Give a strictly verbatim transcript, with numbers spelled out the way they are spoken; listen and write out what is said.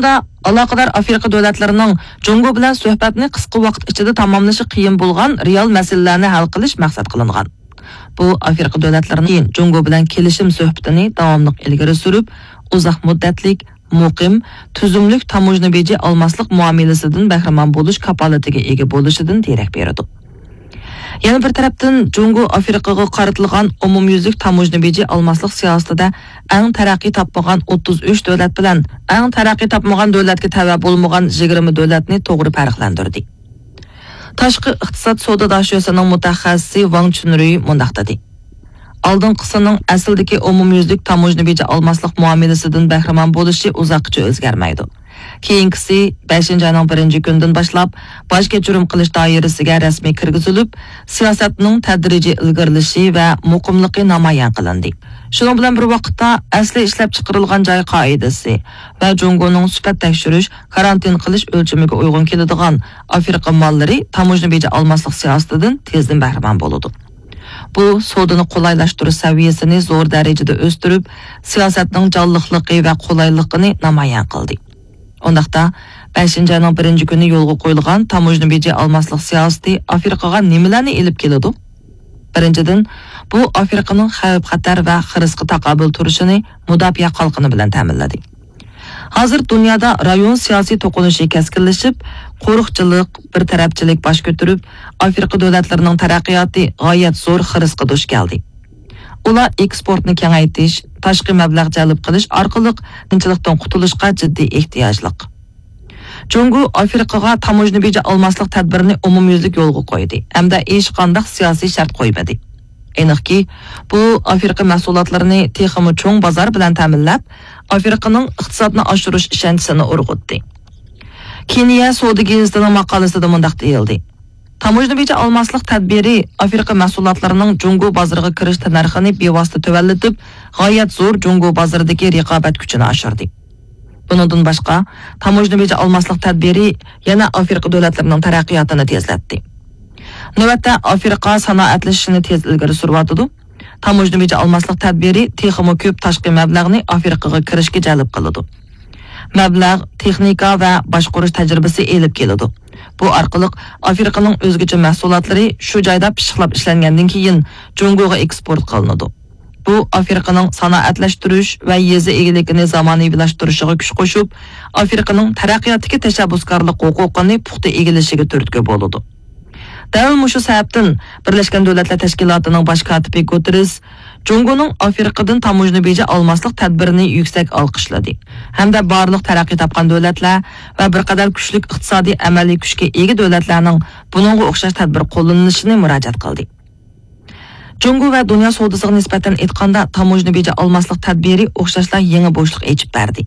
ئالاقىدار ئافرىقا دۆلەتلىرىنىڭ جۇڭگو بىلەن سۆھبەتنى قىسقا ۋاقىت ئىچىدە تاماملىشى قىيىن بولغان رېئال مەسىلىلەرنى ھەل قىلىش مەقسەت قىلىنغان. بۇ ئافرىقا دۆلەتلىرىنىڭ كېيىن جۇڭگو بىلەن كېلىشىم سۆھبىتىنى داۋاملىق ئىلگىرى سۈرۈپ، ئۇزاق مۇددەتلىك، مۇقىم، تۈزۈملۈك تاموژنا بېجى ئالماسلىق مۇئامىلىسىدىن بەھرىمەن بولۇش كاپالىتىگە ئىگە بولۇشىدىن دېرەك بېرىدۇ. يەنە بىر تەرەپتىن، جۇڭگو ئافرىقىغا قارىتىلغان ئومۇميۈزلۈك تاموژنا بېجى ئالماسلىق سىياسىتىدە ئەڭ تەرەققىي تاپمىغان ئوتتۇز ئۈچ دۆلەت بىلەن ئەڭ تەرەققىي تاپمىغان دۆلەتكە تەۋە بولمىغان يىگىرمە دۆلەتنى توغرا پەرقلەندۈردى. تاشقى ئىقتىساد سودا داشۆسىنىڭ مۇتەخەسسىسى ۋاڭ چۈنرۈي مۇنداق دېدى: ئالدىنقىسىنىڭ ئەسلىدىكى ئومۇميۈزلۈك تاموژنا بېجى ئالماسلىق مۇئامىلىسىدىن بەھرىمەن بولۇشى ئۇزاققىچە ئۆزگەرمەيدۇ. كېيىنكىسى بەشىنچى ئاينىڭ بىرىنچى كۈنىدىن باشلاپ باج كەچۈرۈم قىلىش دائىرىسىگە رەسمىي كىرگۈزۈلۈپ، سىياسەتنىڭ تەدرىجىي ئىلگىرىلىشى ۋە مۇقىملىقى نامايان قىلىندى. شۇنىڭ بىلەن بىر ۋاقىتتا، ئەسلى ئىشلەپچىقىرىلغان جاي قائىدىسى ۋە جۇڭگونىڭ سۈپەت تەكشۈرۈش، كارانتىن قىلىش ئۆلچىمىگە ئۇيغۇن كېلىدىغان ئافرىقا ماللىرى تاموژنا بېجى ئالماسلىق سىياسىتىدىن تېزدىن بەھرىمەن بولىدۇ. بۇ سودىنى قولايلاشتۇرۇش سەۋىيەسىنى زور دەرىجىدە ئۆستۈرۈپ، سىياسەتنىڭ جانلىقلىقى ۋە قولايلىقىنى نامايان قىلدى. ئۇنداقتا، بەشىنچى ئاينىڭ بىرىنچى كۈنى يولغا قويۇلغان تاموژنا بېجى ئالماسلىق سىياسىتى ئافرىقىغا نېمىلەرنى ئېلىپ كېلىدۇ؟ بىرىنچىدىن، بۇ ئافرىقىنىڭ خەۋپ-خەتەر ۋە خىرىسقا تاقابىل تۇرۇشىنى مۇداپىئە قالقىنى بىلەن تەمىنلىدى. ھازىر دۇنيادا رايون سىياسىي توقۇنۇشى كەسكىنلىشىپ، قورۇقچىلىق، بىر تەرەپچىلىك باش كۆتۈرۈپ، ئافرىقا دۆلەتلىرىنىڭ تەرەققىياتى غايەت زور خىرىسقا دۇچ كەلدى. ئۇلار ئېكسپورتنى كېڭەيتىش، تاشقى مەبلەغ جەلپ قىلىش ئارقىلىق قىيىنچىلىقتىن قۇتۇلۇشقا جىددىي ئېھتىياجلىق. جۇڭگو ئافرىقىغا تاموژنا بېجى ئالماسلىق تەدبىرىنى ئومۇميۈزلۈك يولغا قويدى ھەمدە ھېچقانداق سىياسىي شەرت قويمىدى. ئېنىقكى، بۇ ئافرىقا مەھسۇلاتلىرىنى تېخىمۇ چوڭ بازار بىلەن تەمىنلەپ، ئافرىقىنىڭ ئىقتىسادنى ئاشۇرۇش ئىشەنچىسىنى ئۇرغۇتتى. كېنىيە سودا گېزىتىنىڭ ماقالىسىدە مۇنداق دېيىلدى: تاموژنا بېجى ئالماسلىق تەدبىرى ئافرىقا مەھسۇلاتلىرىنىڭ جۇڭگو بازىرىغا كىرىش تەننەرخىنى بىۋاسىتە تۆۋەنلىتىپ، غايەت زور جۇڭگو بازىرىدىكى رىقابەت كۈچىنى ئاشۇردى. بۇنىڭدىن باشقا، تاموژنا بېجى ئالماسلىق تەدبىرى يەنە ئافرىقا دۆلەتلىرىنىڭ تەرەققىياتىنى تېزلەتتى. نۆۋەتتە ئافرىقا سانائەتلىشىشنى تېز ئىلگىرى سۈرۈۋاتىدۇ. تاموژنا بېجى ئالماسلىق تەدبىرى تېخىمۇ كۆپ تاشقى مەبلەغنى ئافرىقىغا كىرىشكە جەلپ قىلىدۇ. مەبلەغ، تېخنىكا ۋە باشقۇرۇش تەجرىبىسى ئېلىپ كېلىدۇ. بۇ ئارقىلىق ئافرىقىنىڭ ئۆزگىچە مەھسۇلاتلىرى شۇ جايدا پىششىقلاپ ئىشلەنگەندىن كېيىن جۇڭگوغا ئېكسپورت قىلىنىدۇ. بۇ ئافرىقىنىڭ سانائەتلەشتۈرۈش ۋە يېزا ئىگىلىكىنى زامانىۋىلاشتۇرۇشىغا كۈچ قوشۇپ، ئافرىقىنىڭ تەرەققىياتتىكى تەشەببۇسكارلىق ھوقۇقىنى پۇختا ئىگىلىشىگە تۈرتكە بولىدۇ. دەل مۇشۇ سەۋەبتىن، بىرلەشكەن دۆلەتلەر تەشكىلاتىنىڭ باش كاتىپى گۇتېررېس جۇڭگونىڭ ئافرىقىدىن تاموژنا بېجى ئالماسلىق تەدبىرىنى يۈكسەك ئالقىشلىدى ھەمدە بارلىق تەرەققىي تاپقان دۆلەتلەر ۋە بىر قەدەر كۈچلۈك ئىقتىسادىي ئەمەلىي كۈچكە ئىگە دۆلەتلەرنىڭ بۇنىڭغا ئوخشاش تەدبىر قوللىنىشىنى مۇراجىئەت قىلدى. جۇڭگو ۋە دۇنيا سودىسىغا نىسبەتەن ئېيتقاندا، تاموژنا بېجى ئالماسلىق تەدبىرى ئوخشاشلا يېڭى بوشلۇق ئېچىپ بەردى.